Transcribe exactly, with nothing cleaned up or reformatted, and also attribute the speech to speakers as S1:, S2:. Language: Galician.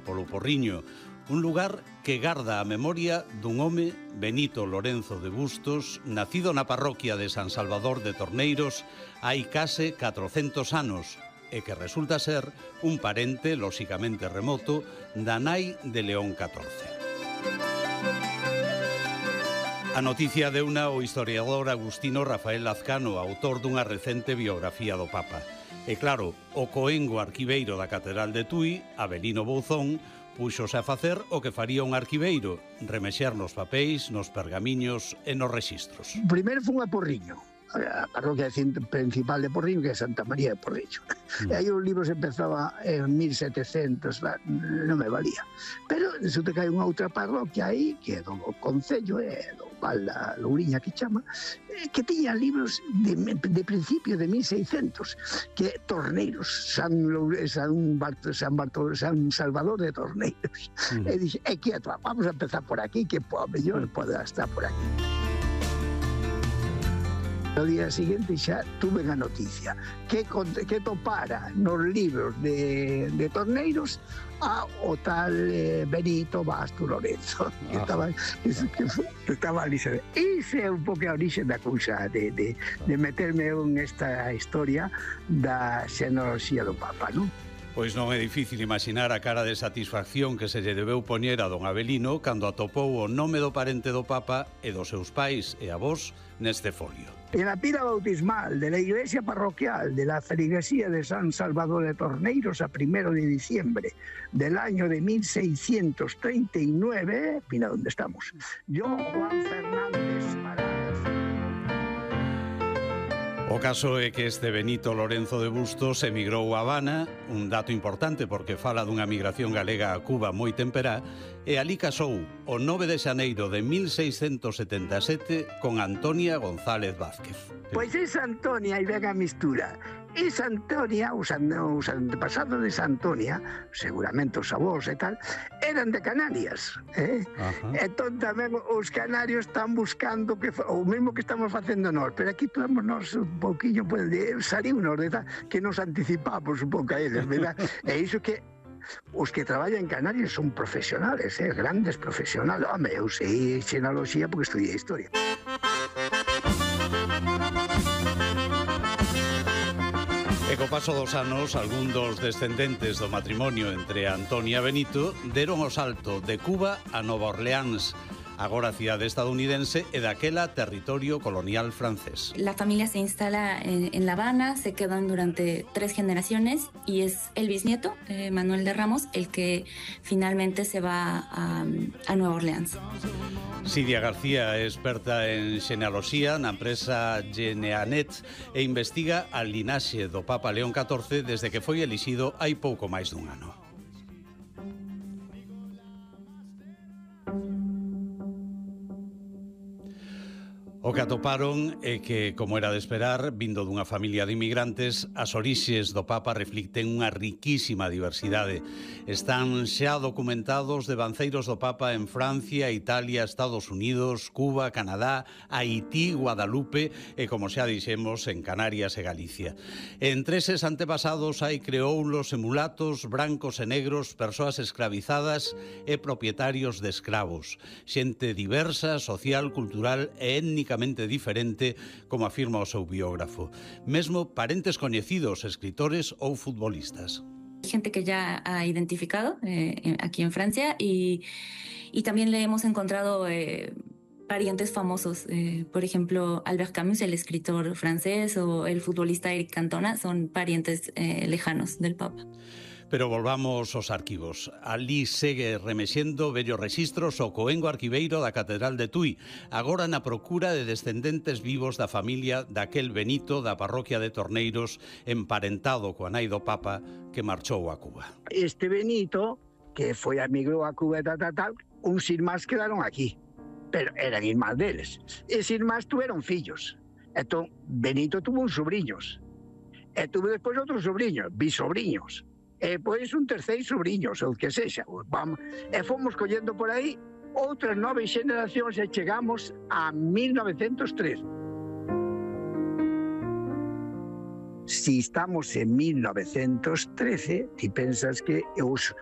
S1: polo Porriño, un lugar que garda a memoria dun home, Benito Lorenzo de Bustos, nacido na parroquia de San Salvador de Torneiros hai case catrocentos anos, e que resulta ser un parente, lóxicamente remoto, da nai de León catorce. A noticia deuna o historiador agustino Rafael Lazcano, autor dunha recente biografía do Papa. E claro, o coengo arquiveiro da Catedral de Tui, Avelino Bouzón, púxose a facer o que faría un arquiveiro, remexer nos papéis, nos pergamiños e nos rexistros.
S2: Primeiro foi a Porriño, a parroquia principal de Porriño, que é Santa María de Porriño. Mm. E aí os libros empezaba en mil setecentos, non me valía. Pero resulta que hai unha outra parroquia aí, que é do Concello, é do Val da Louriña, que chama, que tiña libros de, de principio de mil seiscentos, que Torneiros, San, San, Barto, San, Barto, San Salvador de Torneiros. Mm. E dixe, é quieto, vamos a empezar por aquí, que po, mellor mm. pode estar por aquí. No día seguinte xa tuve a noticia que, que topara nos libros de, de Torneiros a o tal eh, Benito Basto Lorenzo, que, ah, estaba, que, que, que estaba ali. Ese é un pouco a orixe da cousa, de, de, de meterme en esta historia da xenoloxía do Papa, non?
S1: Pois non é difícil imaginar a cara de satisfacción que se lle debeu poñer a don Avelino cando atopou o nome do parente do Papa e dos seus pais e avós neste folio.
S2: En la pila bautismal de la iglesia parroquial de la feligresía de San Salvador de Torneiros a primero de diciembre del año de mil seiscientos treinta y nueve, mira dónde estamos, yo, Juan Fernández Paradas.
S1: O caso é que este Benito Lorenzo de Bustos emigrou a Habana, un dato importante porque fala dunha migración galega a Cuba moi temperá, e ali casou o nove de xaneiro de mil seiscentos setenta e sete con Antonia González Vázquez.
S2: Pois esa Antonia, e ven a mistura, esa Antonia, os, os antepasados de esa Antonia, seguramente os avós e tal, eran de Canarias, eh? Entón tamén os canarios están buscando que, o mesmo que estamos facendo nós, pero aquí podemos nós un pouquinho, pues, salir unos de tal, que nos anticipamos un pouco a eles, verdad? E iso que os que traballan en Canarias son profesionales, eh? Grandes profesionales. Home, eu sei xenoloxía porque estudiei historia.
S1: E co paso dos anos, algún dos descendentes do matrimonio entre Antonia e Benito deron o salto de Cuba a Nova Orleans, agora cidade estadounidense e daquela territorio colonial francés.
S3: La familia se instala en, en La Habana, se quedan durante tres generaciones y es el bisnieto, eh, Manuel de Ramos, el que finalmente se va a, a Nueva Orleans.
S1: Sidia García é experta en xenealoxía na empresa Geneanet e investiga a linaxe do Papa León catorce desde que foi elixido hai pouco máis dun ano. O que atoparon é que, como era de esperar, vindo dunha familia de inmigrantes, as orixes do Papa reflicten unha riquísima diversidade. Están xa documentados devanceiros do Papa en Francia, Italia, Estados Unidos, Cuba, Canadá, Haití, Guadalupe e, como xa dixemos, en Canarias e Galicia. Entre eses antepasados hai creoulos e mulatos, brancos e negros, persoas esclavizadas e propietarios de escravos. Xente diversa, social, cultural e étnica diferente, como afirma o seu biógrafo. Mesmo parentes coñecidos, escritores ou futbolistas.
S3: Gente que ya ha identificado eh, aquí en Francia y, y también le hemos encontrado eh, parientes famosos. Eh, por ejemplo, Albert Camus, el escritor francés, o el futbolista Eric Cantona, son parientes eh, lejanos del Papa.
S1: Pero volvamos aos arquivos. Ali segue remexendo vellos rexistros o coengo arquiveiro da Catedral de Tui, agora na procura de descendentes vivos da familia daquel Benito da parroquia de Torneiros, emparentado coa nai do Papa que marchou a Cuba.
S2: Este Benito, que foi emigrou a Cuba e tal, tal, tal, uns irmáns quedaron aquí, pero eran irmáns deles. Eses irmáns tuveron fillos. Entón, Benito tuvo uns sobrinhos. E tuve despois outros sobrinhos, bisobriños. E pois un terceiro sobrinhos, ou que sexa. Vamos, e fomos collendo por aí outras nove xeneracións e chegamos a mil novecentos tres. Si estamos en mil novecentos trece, ti pensas que os,